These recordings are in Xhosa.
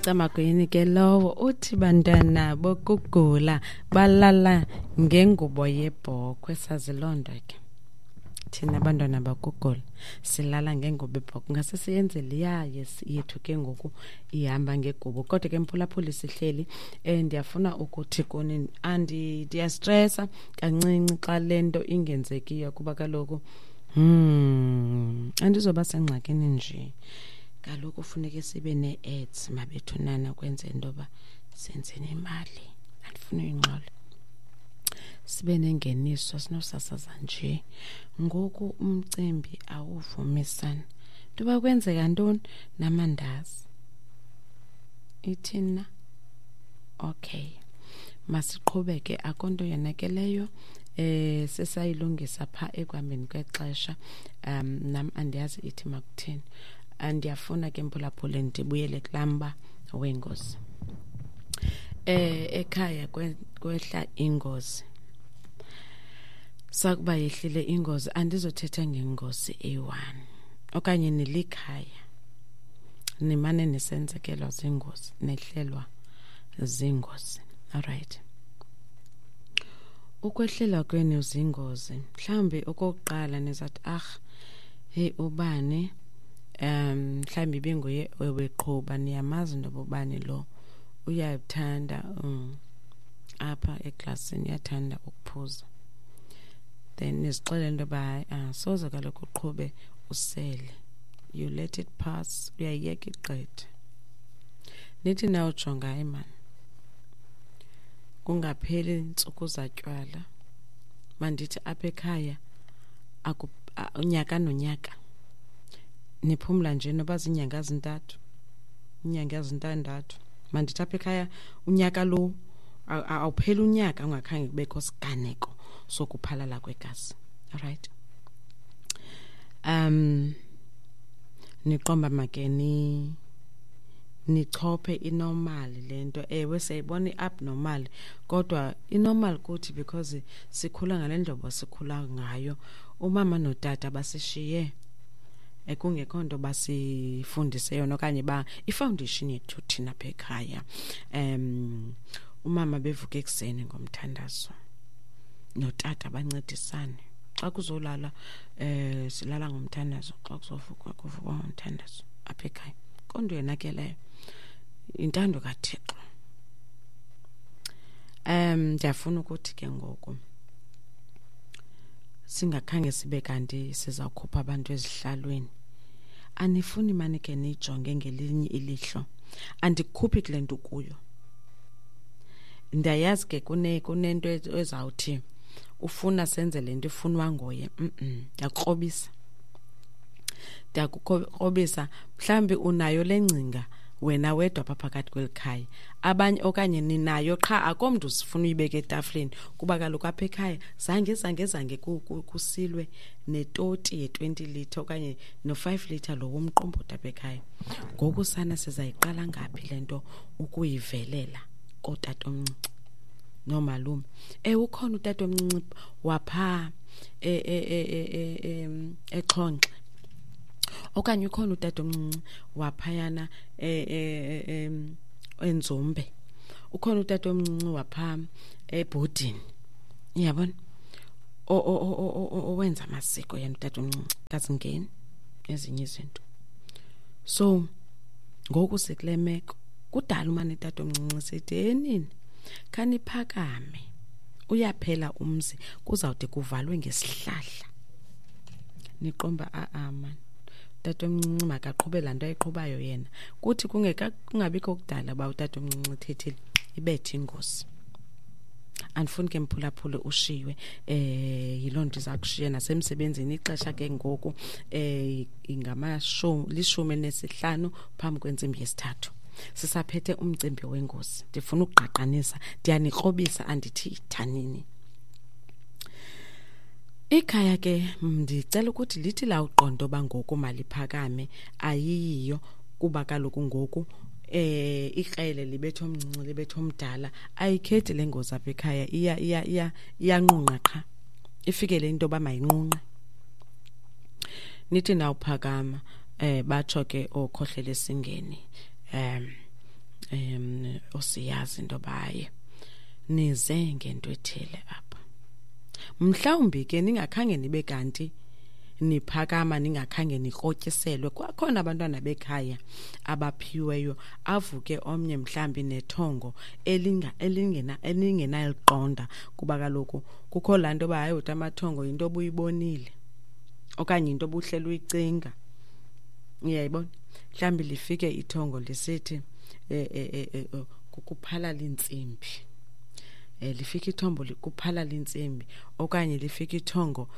Camagweni ke lowo uthi bantwana bokugula balala ngengubo yebhokhwe. Sazi loo nto ke thina abantwana bakugula silala ngengubo ebhokhwe, ngase siyenze liya yethu ke ngoku ihamba ngegubo. Kodwa ke mphulaphuli sihleli, ndiyafuna ukuthi kuni ndiyastresa kancinci xa le nto ingenzekiyo, kuba kaloku andizoba sengxakini nje. Kaloku funeke sibe nee-ads mabethunana kwenzela into yoba senze nemali, andifuni uyingxola, sibe nengeniso, sinosasaza nje. Ngoku umcimbi awuvumisani ntoba kwenzeka ntoni namandazi ithina. Okay, masiqhubeke, akho nto yonakeleyo. Sesayilungisa pha ekuhambeni kwexesha. Nam andiyazi ithi makuthini. Andiyafuna ke mphulaphuli ndibuyele kulaa mba wengozi. Ekhaya kwehla ingozi. Sakuba yehlile ingozi, andizothetha ngengozi eyi-1 okanye nilikhaya nimane nisenzekelwa zingozi, nehlelwa zingozi. Alright, ukwehlelwa kwenu zingozi, mhlawumbi okokuqala nizathi, ah hey, ubani mhlawumbi ibinguye ebeqhuba, niyamazi into yoba ubani lo uyathanda apha eklasini uyathanda ukuphuza. Then nizixelele into yoba hayi, soze kaloku uqhube usele, you let it pass, uyayiyeka igqithe. Nithi nawujonga, hayi mani, kungapheli ntsuku zatywala, mandithi apha ekhaya unyaka nonyaka niphumla nje noba ziinyanga ezintathu, iinyanga ezintandathu. Mandithi apha ekhaya unyaka lo awupheli unyaka ungakhange kubekho siganeko sokuphalala kwegazi. Alright, niqomba make ni nichophe inormal le nto. Ewe, siyayibona i-abnormal, kodwa inormal kuthi because sikhula ngale ndlobo sikhula ngayo. Umama notata basishiye ekungekho nto basifundise yona okanye ba ifoundation yethu thina apha ekhaya. Umama bevuka ekuseni ngomthandazo notata bancedisane. Xa kuzolala silala ngomthandazo, xa kuzovukwa kuvukwa ngomthandazo apha ekhaya. Kodwa yona ke leyo intando kaThixo. Ndiyafuna ukuthi ke ngoku singakhange sibe kanti sizawukhupha abantu ezihlalweni, anifuni mani ke niyijonge ngelinye ilihlo. Andikukhuphi kule nto kuyo, ndiyayazi ke kunento ezawuthi ufuna senze le nto ifunwa nguye. Ndiyakukrobisa, ndiyakukrobisa. Mhlawumbi unayo le ngcinga wena wedwa apha phakathi kweli khaya, abanye okanye ninayo qha akho mntu sifuna uyibeka etafileni, kuba kaloku apha ekhaya zange zange zange kusilwe netoti ye-20 litre okanye no-5 litre lo womqombothi apha ekhaya. Ngoku sana sizayiqala ngaphi le nto ukuyivelela kootatomncinci noomalume? Ewe, ukhona utatomncinci waphaa eXhonxe, okanye ukhona utatomncinci waphayana eNzumbe, ukhona utatomncinci waphaa ebhodini, uyabona, owenza amasiko yena utatomncinci, kazingeni ezinye izinto. So ngoku sikule meko, kudala umane utatomncinci sithi enini khaniphakame, uyaphela umzi, kuzawude kuvalwe ngesihlahla. Niqomba a-a mani, utatomncinci makaqhube laa nto ayiqhubayo yena. Kuthi kungabikho kudala uba utatomncinci ethethile, ibethe ingozi. Andifuni ke mphulaphule ushiywe yiloo nto iza kushiya nasemsebenzini. Ixesha ke ngoku ingamashumi 15 phambi kwentsimbi yesithathu. Sisaphethe umcimbi wengozi, ndifuna ukugqaqanisa, ndiyanikrobisa, andithi thanini. Ikhaya ke ndicela ukuthi lithi lawuqonda uba ngoku maliphakame, ayiyiyo, kuba kaloku ngoku ikrele libethe omncinci libethe omdala, ayikhethi le ngozi apha ekhaya, iya iya iya iyanqunqa qha, ifikele into yoba mayinqunqe. Nithi nawuphakama batsho ke ookhohlela esingeni, Osiyazi into baye nize ngento ethile apha. Mhlawumbi ke ningakhange nibe kanti niphakama, ningakhange nikrotyiselwe. Kwakhona abantwana bekhaya abaphiweyo, avuke omnye mhlambi nethongo elingenaliqonda, kuba kaloku kukho laa nto uba hayi uthi amathongo yinto obuyibonile okanye yinto obuhleli uyicinga. Uyayibona? Mhlawumbi lifike ithongo lisithi kukuphalala intsimbi. Lifike ithombo kuphalala intsimbi, okanye lifike ithongo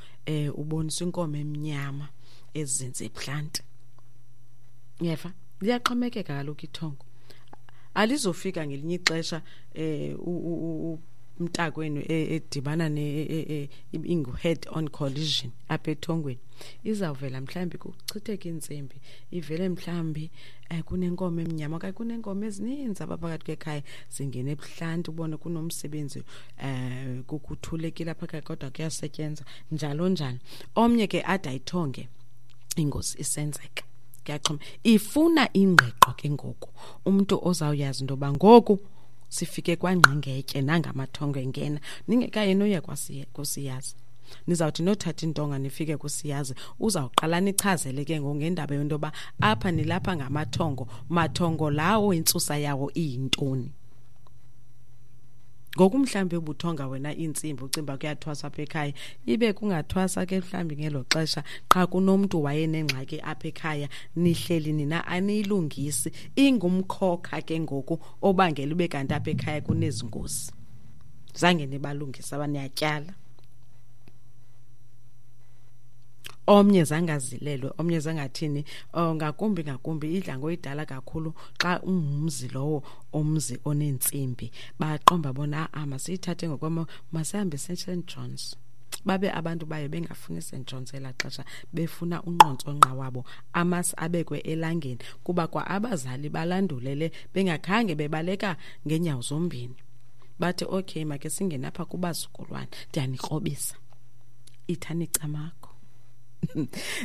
ubonisa inkomo emnyama ezinze ebuhlanti. Uyeva? Liyaxhomekeka kaloku ithongo. Alizofika ngelinye ixesha umntakwenu edibana ingu head on collision apha ethongweni. Izawuvela mhlawumbi kuchitheke intsimbi, ivele mhlawumbi kunenkomo emnyama okanye kuneenkomo ezininzi apha phakathi kwekhaya zingene ebuhlanti, ubone kunomsebenzi, kukuthulekile apha ekhaya kodwa kuyasetyenzwa njalo njalo. Omnye ke ade ayithonge ingozi isenzeka. Kuyaxhoma. Ifuna ingqiqo ke ngoku, umntu ozawuyazi into yoba ngoku sifike kwangqingetye nangamathongo engena, ningekayi noya kusiyazi. Nizawuthi nothatha intonga nifike kusiyazi, uzawuqala nichazele ke ngoku ngendaba yento yoba apha nilapha ngamathongo, mathongo lawo intsusa yawo iyintoni. Ngoku mhlawumbi ubuthonga wena iintsimbi ucimba kuyathwaswa apha ekhaya, ibe kungathwasa ke mhlawumbi ngelo xesha, qha kunomntu wayenengxaki apha ekhaya, nihleli nina aniyilungisi, ingumkhokha ke ngoku obangela ube kanti apha ekhaya kunezi ngozi. Zange nibalungise aba, niyatyala. Omnye zangazilelwe, omnye zangathini, ngakumbi ngakumbi idla ngoyidala kakhulu xa ungumzi lowo, umzi oneentsimbi. Baqomba bona, a-a, masiyithathe ngokwemo, masihambe Saint John's. Babe abantu bayo bengafuni Saint John's elaa xesha, befuna unqontsonqa wabo, amasi abekwe elangeni, kuba kwa abazali balandulele bengakhange bebaleka ngeenyawo zombini. Bathi, okay, make singene apha kubazukulwana, ndiyanikrobisa. Ithani camakho.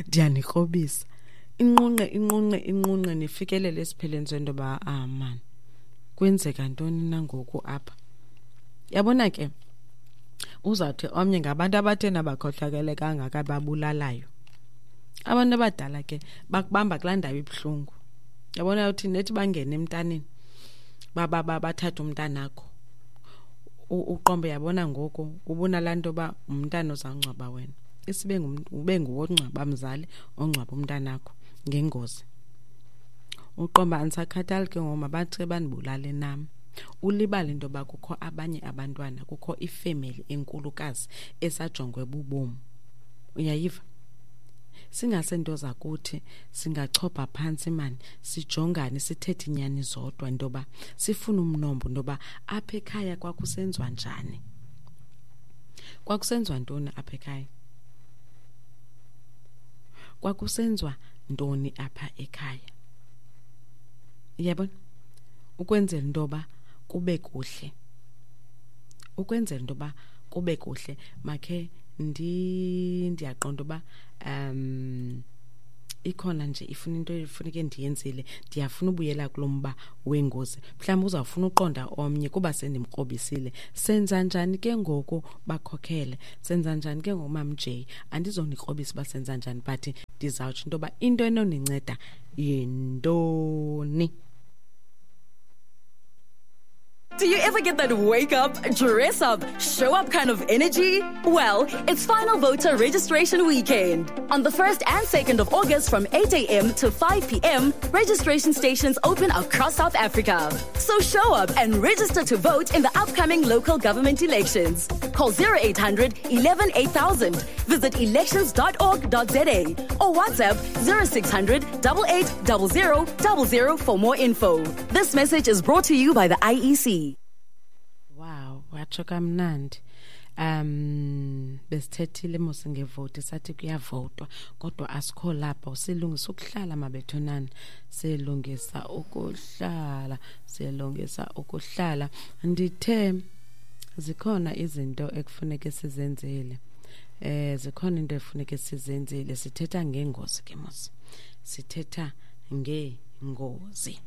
Ndiyanikrobisa. Inqunqe, inqunqe, inqunqe, nifikelele esiphelweni sento yoba, ah, man, kwenzeka ntoni na ngoku apha? Yabona ke, uzawuthi omnye ngabantu abathe nabakhohlakele kangaka babulalayo. Abantu abadala ke bakubamba kulaa ndawo ibuhlungu. Yabona uthi nethi bangene emntaneni, bathathe umntanakho. Uqombe yabona ngoku ubona laa nto yoba umntana ozawungcwaba wena. Isibe ube nguwe ongcwaba mzali ongcwaba umntanakho ngengozi. Uqomba andisakhathali ke ngoku, mabathi bandibulale nam. Ulibale into yoba kukho abanye abantwana, kukho ifemeli enkulukazi esajongwe bubomi. Uyayiva? Singasento zakuthi singachopha phantsi mani, sijongane, sithethe inyani zodwa into yoba sifune umnombo into yoba apha ekhaya kwakusenziwa njani. Kwakusenziwa ntoni apha ekhaya? Kwakusenziwa ntoni apha ekhaya? Uyabona? Ukwenzela into yoba kube kuhle. Ukwenzela into yoba kube kuhle, makhe ndiyaqonda uba ikhona nje ifuna into efuneke ndiyenzile, ndiyafuna ubuyela kulo mba wengozi. Mhlawumbi uzawufuna uqonda omnye kuba sendimkrobisile. Senza njani ke ngoku bakhokhele? Senza njani ke ngoku Mam J? Andizonikrobisa uba senza njani, but ndizawutsho into yoba into enoninceda yintoni. Do you ever get that wake up, dress up, show up kind of energy? Well, it's final voter registration weekend. On the 1st and 2nd of August from 8 a.m. to 5 p.m., registration stations open across South Africa. So show up and register to vote in the upcoming local government elections. Call 0800 11 8000, visit elections.org.za or WhatsApp 0600 8800 00 for more info. This message is brought to you by the IEC. Wow, watsho kamnandi. Besithethile mos ngevoti, sathi kuyavotwa kodwa asikho lapho, silungisa ukuhlala mabethunana, silungisa ukuhlala, silungisa ukuhlala. Ndithe zikhona izinto ekufuneke sizenzile. Zikhona into efuneke sizenzile. Sithetha ngengozi ke mos. Sithetha ngengozi.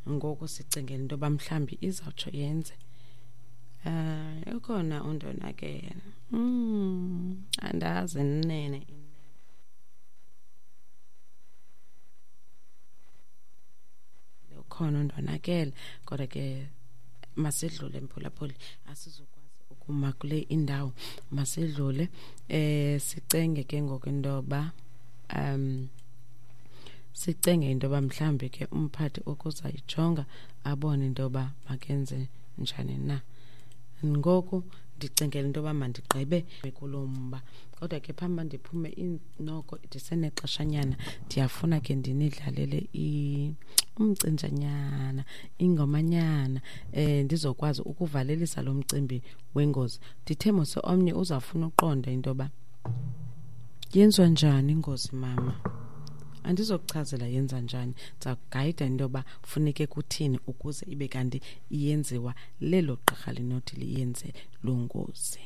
Ngoku sicingela into yoba mhlawumbi izawutsho yenze. Ukhona undonakele. Andazi nene. Ukhona undonakele, kodwa ke masidlule mphulaphuli, asizokwazi ukuma kule indawo, masidlule. Sicenge ke ngoku into yoba sicenge into yoba mhlawumbi ke umphathi ukuzayijonga abone into yoba makenze njani na. Ngoku ndicingela into yoba mandigqibe kulo mba, kodwa ke phambi uba ndiphume noko ndisenexeshanyana, ndiyafuna ke ndinidlalele umcinjanyana, ingomanyana, ndizokwazi ukuvalelisa lo mcimbi wengozi. Ndithe mos omnye uzawufuna uqonda into yoba yenziwa njani ingozi, mama. Andizokuchazela yenza njani, ndizakugayida into yoba funeke kuthini ukuze ibe kanti iyenziwa lelo gqirha linothi liyenze loo ngozi.